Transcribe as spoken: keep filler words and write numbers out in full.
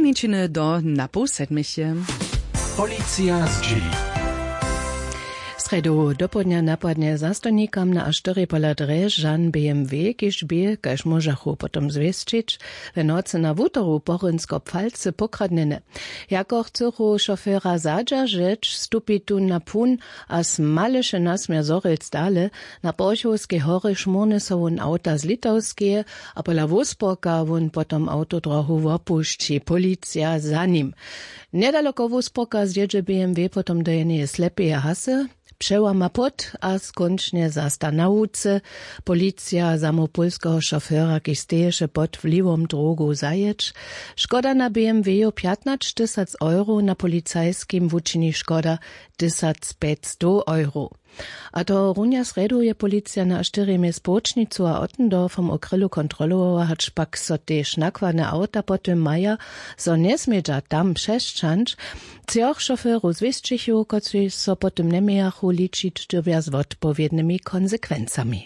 Minčiny do na poł sedmich je. Policija zdźěli. Srjedu dopołdnja napadnje zastojnikam na a štyri pola drježan bmw, kiž bě, kaž móžachu potom zwěsćić, w nocy na wutoru porynsko pfalcy pokradnjene. Jako chcychu šofera zadźeržeć, stupi tón na pun a smaleše nasměr zhorjelc dale. Na porchowskej horje šmórny so wón awta z litowskeje a pola wuspoka wón potom awtodrohu wopušći, policija za nim. Njedaloko wuspoka zjědźe bmw potom do jeneje slepeje hasy, přełama płót a skónčnje zasta na łuce. Policija zamołw pólskeho šofera, kiž steješe pod wliwom drogow, zajěć. Škoda na bmw jo pjatnaćtysac euro, na policajskim wučini škoda tysacpjećstow euro. A tohorunja srjedu je policija na štyrjemje społčnicu a ottendorfom w krylu kontrolowała, hač pak so tež nakładne awta po tym maja zo njesmědźa tam přesćahnyć. Třoch šoferow zwěsćichu, kotřiž so po tym njemějachu ličić, dyrbja z wotpowědnymi konsekwencami.